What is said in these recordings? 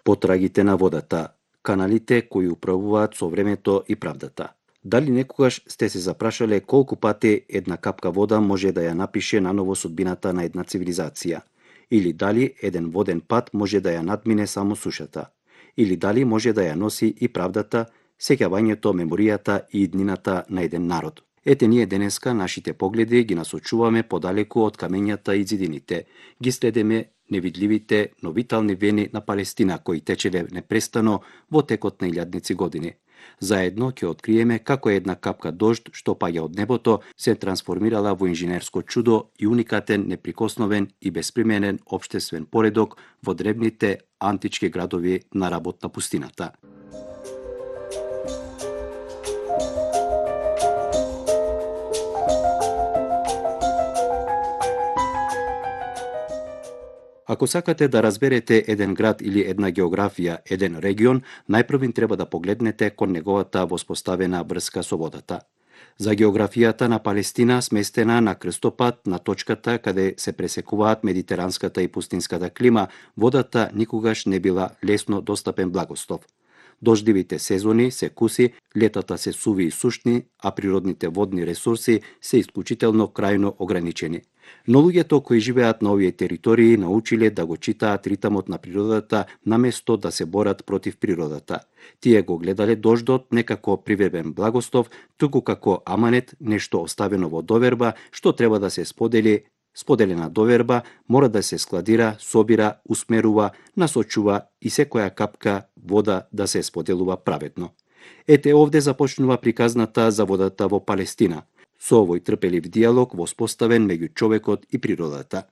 Потрагите на водата, каналите кои управуваат со времето и правдата. Дали некогаш сте се запрашале колку пати една капка вода може да ја напише наново судбината на една цивилизација? Или дали еден воден пат може да ја надмине само сушата? Или дали може да ја носи и правдата, сеќавањето, меморијата и иднината на еден народ? Ете ние денеска нашите погледи ги насочуваме подалеку од камењата и зидините. Ги следеме невидливите, но витални вени на Палестина кои течеле непрестано во текот на илјадници години. Заедно ќе откриеме како една капка дожд што паѓа од небото се трансформирала во инженерско чудо и уникатен, неприкосновен и безприменен општествен поредок во древните антички градови на работ на пустината. Ако сакате да разберете еден град или една географија, еден регион, најпрвин треба да погледнете кон неговата воспоставена врска со водата. За географијата на Палестина, сместена на крстопат на точката каде се пресекуваат медитеранската и пустинската клима, водата никогаш не била лесно достапен благослов. Дождливите сезони се куси, летата се суви и сушни, а природните водни ресурси се исклучително крајно ограничени. Но луѓето кои живеат на овие територии научиле да го читаат ритамот на природата наместо да се борат против природата. Тие го гледале дождот не како привебен благослов, туку како аманет, нешто оставено во доверба, што треба да се сподели. Споделена доверба мора да се складира, собира, усмерува, насочува и секоја капка вода да се споделува праведно. Ете овде започнува приказната за водата во Палестина, со овој трпелив диалог воспоставен меѓу човекот и природата.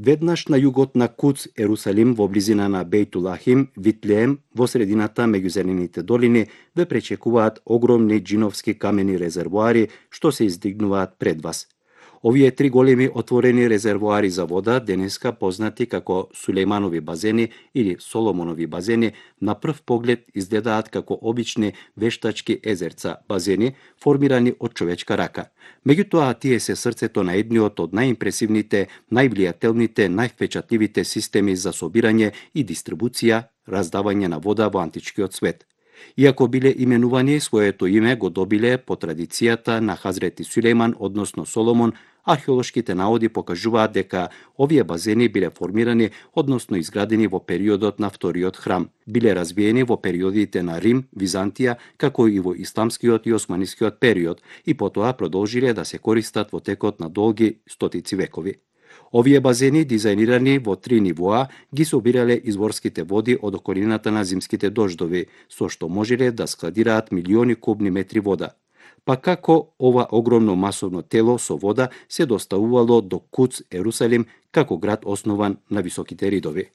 Веднаш на југот на Куц, Ерусалим, во близина на Бејтулахим, Витлеем, во средината меѓу зелените долини, ве пречекуваат огромни джиновски камени резервоари што се издигнуваат пред вас. Овие три големи отворени резервоари за вода, денеска познати како Сулејманови базени или Соломонови базени, на прв поглед изгледаат како обични вештачки езерца, базени формирани од човечка рака. Меѓутоа, тие се срцето на едниот од најимпресивните, највлијателните, највпечатливите системи за собирање и дистрибуција, раздавање на вода во античкиот свет. Иако биле именувани, своето име го добиле по традицијата на Хазрети Сулејман, односно Соломон, археолошките наоди покажуваат дека овие базени биле формирани, односно изградени во периодот на вториот храм. Биле развиени во периодите на Рим, Византија, како и во исламскиот и османискиот период, и потоа продолжиле да се користат во текот на долги стотици векови. Овие базени, дизајнирани во три нивоа, ги собирале изворските води од околината на зимските дождови, со што можеле да складираат милиони кубни метри вода. Па како ова огромно масовно тело со вода се доставувало до Куц, Ерусалим, како град основан на високите ридови?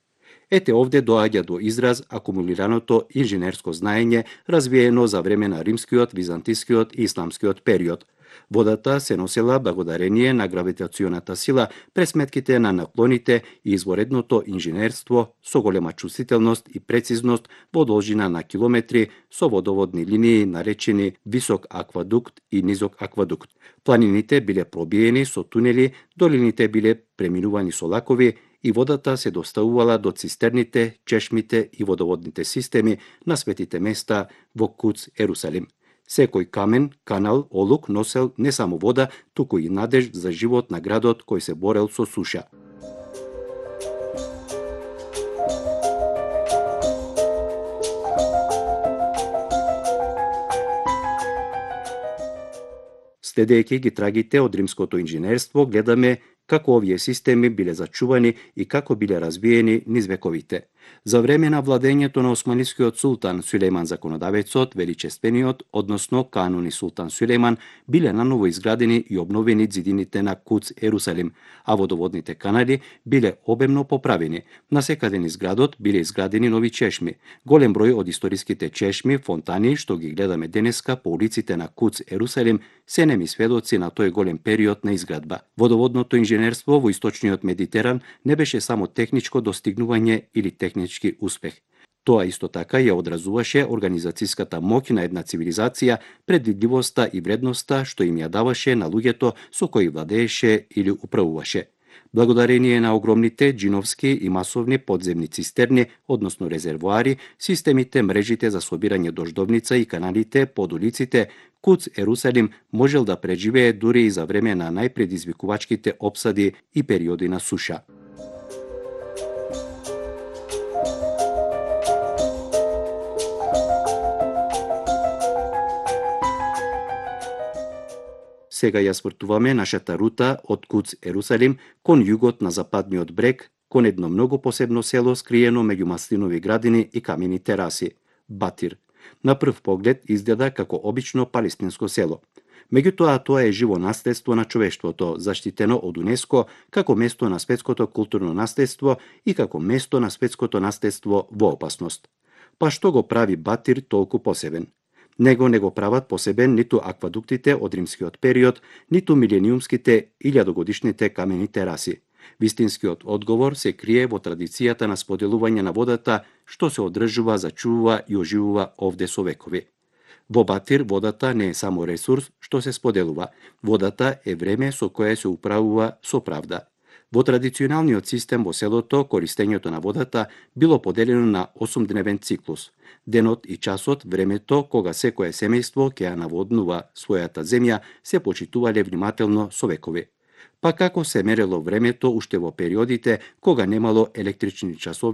Ете овде доаѓа до израз акумулираното инженерско знаење развиено за време на римскиот, византискиот и исламскиот период. Водата се носела благодарение на гравитационата сила, пресметките на наклоните и изворедното инженерство со голема чувствителност и прецизност во должина на километри, со водоводни линии наречени висок аквадукт и низок аквадукт. Планините биле пробиени со тунели, долините биле преминувани со лакови и водата се доставувала до цистерните, чешмите и водоводните системи на светите места во Куц, Ерусалим. Секој камен, канал, олук носел не само вода, туку и надеж за живот на градот кој се борел со суша. Следејќи ги трагите од римското инженерство, гледаме како овие системи биле зачувани и како биле развиени низ вековите. За време на владењето на османискиот султан Сулејман Законодавецот, величествениот, односно кануни султан Сулејман, биле наново изградени и обновени ѕидините на Куц, Ерусалим, а водоводните канали биле обемно поправени. Насекаде низ градот биле изградени нови чешми. Голем број од историските чешми, фонтани, што ги гледаме денеска по улиците на Куц, Ерусалим, се неми сведоци на тој голем период на изградба. Водоводното инженерство во источниот Медитеран не беше само техничко достигнување или технички успех. Тоа исто така ја одразуваше организацијската моќ на една цивилизација, предвидливоста и вредноста што им ја даваше на луѓето со кои владееше или управуваше. Благодарение на огромните џиновски и масовни подземни цистерни, односно резервоари, системите, мрежите за собирање дождовница и каналите под улиците, Куц Ерусалим можел да преживее дури и за време на најпредизвикувачките опсади и периоди на суша. Сега ја свртуваме нашата рута од Куц Ерусалим кон југот на западниот брег, кон едно многу посебно село скриено меѓу маслинови градини и камени тераси – Батир. На прв поглед изгледа како обично палестинско село. Меѓутоа, тоа е живо наследство на човештвото, заштитено од УНЕСКО како место на светското културно наследство и како место на светското наследство во опасност. Па што го прави Батир толку посебен? Него не го прават посебен ниту аквадуктите од римскиот период, ниту милениумските илјадогодишните камени тераси. Вистинскиот одговор се крие во традицијата на споделување на водата, што се одржува, зачувува и оживува овде со векови. Во Батир водата не е само ресурс што се споделува, водата е време со кое се управува со правда. Во традиционалниот систем во селото, користењето на водата било поделено на 8-дневен циклус. Денот и часот, времето кога секое семејство ќе ја наводнува својата земја, се почитувале внимателно со векови. Па како се мерело времето уште во периодите кога немало електрични часовници